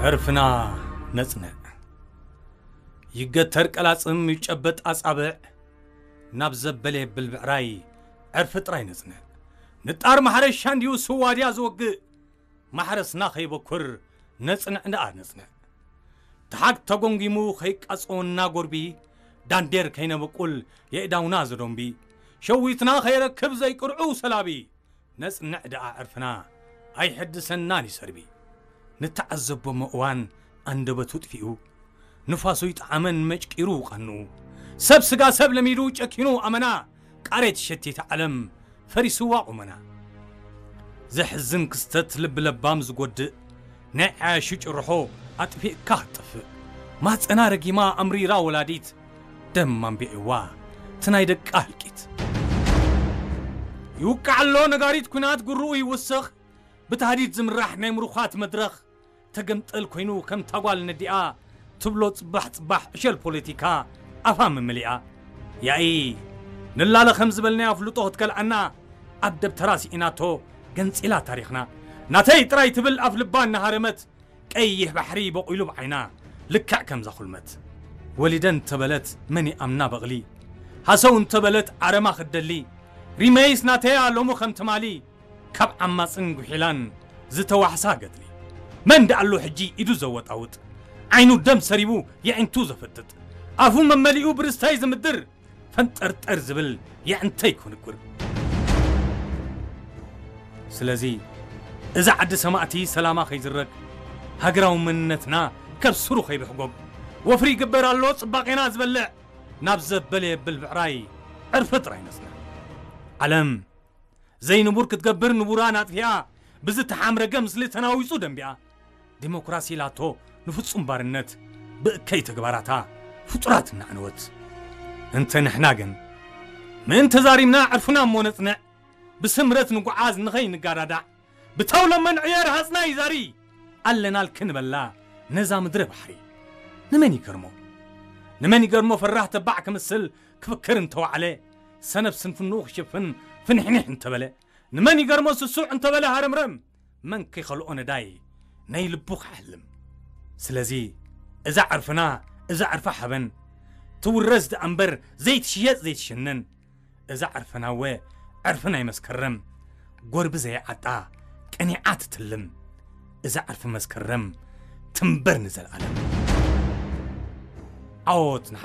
ዕርፍና ነጽንዕ። ይገተር ቀላጽም፣ ይጨበጥ ኣጻብዕ፣ ናብ ዘበለ የብል ብዕራይ ዕርፊ ጥራይ ነጽንዕ። ንጣር ማሕረሻ እንድዩ ስዋ ድያ ዝወግእ፣ ማሕረስና ከይበኩር ነጽንዕ ደኣ ነጽንዕ። ተሓግ ተጎንጊሙ ከይቃጸወና ጎርቢ፣ ዳንዴር ከይነበቁል የእዳውና ዘዶምቢ፣ ሸዊትና ከይረክብ ዘይቅርዑ ሰላቢ፣ ነጽንዕ ደኣ ዕርፍና ኣይሕድሰናን ይሰርቢ። ንተዓዘቦ እሞ እዋን ኣንደበቱ ጥፊኡ፣ ንፋሱ ይጠዓመን መጭቂሩ ቀንኡ። ሰብ ስጋ ሰብ ለሚዱ ጨኪኑ ኣመና፣ ቃሬት ሸቲት ዓለም ፈሪስዋ ቁመና። ዘሕዝን ክስተት ልቢ ለባም ዝጎድእ፣ ናይ ዓያሹ ጭርሖ ኣጥፊእካ ክትጠፍእ። ማጸና ረጊማ ኣምሪራ ወላዲት፣ ደም ኣንቢዕዋ እቲ ናይ ደቃ ህልቂት። ይውቃዕ ኣሎ ነጋሪት ኲናት ጉርኡ ይውስኽ፣ ብታህዲድ ዝምራሕ ናይ ምሩኻት መድረኽ፣ ተገምጠል ኮይኑ ከም ታጓል ነዲኣ ትብሎ ጽባሕ ጽባሕ ዕሸል ፖለቲካ ኣፋ መመሊኣ። ያኢ ንላለ ከም ዝበልናዮ ኣፍልጦ ክትከልኣና ኣብ ደብተራ ስኢናቶ ገንጺላ ታሪኽና። ናተይ ጥራይ ትብል ኣፍ ልባ እናሃረመት ቀይሕ ባሕሪ በቑሉ ብዓይና ልክዕ ከምዛ ኩልመት። ወሊደ እንተበለት መን ይኣምና በቕሊ፣ ሃሰው እንተበለት ዓረማ ክትደሊ፣ ሪመይስ ናተያ ሎሚ ከም ትማሊ ካብ ዓማጽን ጉሒላን ዝተዋሕሳ ገድሊ። መን ደኣሎ ሕጂ ኢዱ ዘወጣውጥ፣ ዓይኑ ደም ሰሪቡ የዒንቱ ዘፍጥጥ፣ ኣፉ መመሊኡ ብርስታይ ዝምድር፣ ፈንጠርጠር ዝብል የዕንተይ ክንጉር። ስለዚ እዛ ዓዲ ሰማእቲ ሰላማ ከይዝረግ፣ ሃገራዊ መንነትና ከብስሩ ከይብሕጎግ፣ ወፍሪ ይግበር ኣሎ ጽባቄና ዝበልዕ፣ ናብ ዘበለ የብል ብዕራይ ዕርፊ ጥራይ ነጽንዕ። ዓለም ዘይንቡር ክትገብር ንቡራን ኣጥፊኣ፣ ብዝተሓምረገ ምስሊ ተናዊጹ ደንቢኣ። ዲሞክራሲ ኢላቶ ንፍጹም ባርነት፣ ብእከይ ተግባራታ ፍጡራት እናዕነወት። እንተ ንሕና ግን፣ ምእንቲ ተዛሪምና ዕርፍና እሞ ነጽንዕ፣ ብስምረት ንጉዓዝ ንኸይንጋዳዳዕ፣ ብተውለመን ዕየር ሃጽና ይዛሪ፣ ኣለናልኪ ንበላ ነዛ ምድረ ባሕሪ። ንመን ይገርሞ? ንመን ይገርሞ ፈራህ ተባዕ ክምስል ክፍክር እንተዋዕለ፣ ሰነፍ ስንፍንኡ ክሽፍን ፍንሕኒሕ እንተበለ፣ ንመን ይገርሞ ስሱዕ እንተበለ ሃረምረም፣ መን ከይኸልኦ ነዳይ ናይ ልቡ ክሕልም። ስለዚ እዛ ዕርፍና፣ እዛ ዕርፊ ሓበን፣ ትውረስ ደኣ እምበር ዘይትሽየጥ ዘይትሽነን። እዛ ዕርፍና እወ ዕርፊ ናይ መስከረም፣ ጎርቢ ዘይዓጣ ቀኒዓ ትትልም። እዛ ዕርፊ መስከረም ትንበር ንዘለኣለም። ዓወት ንሓ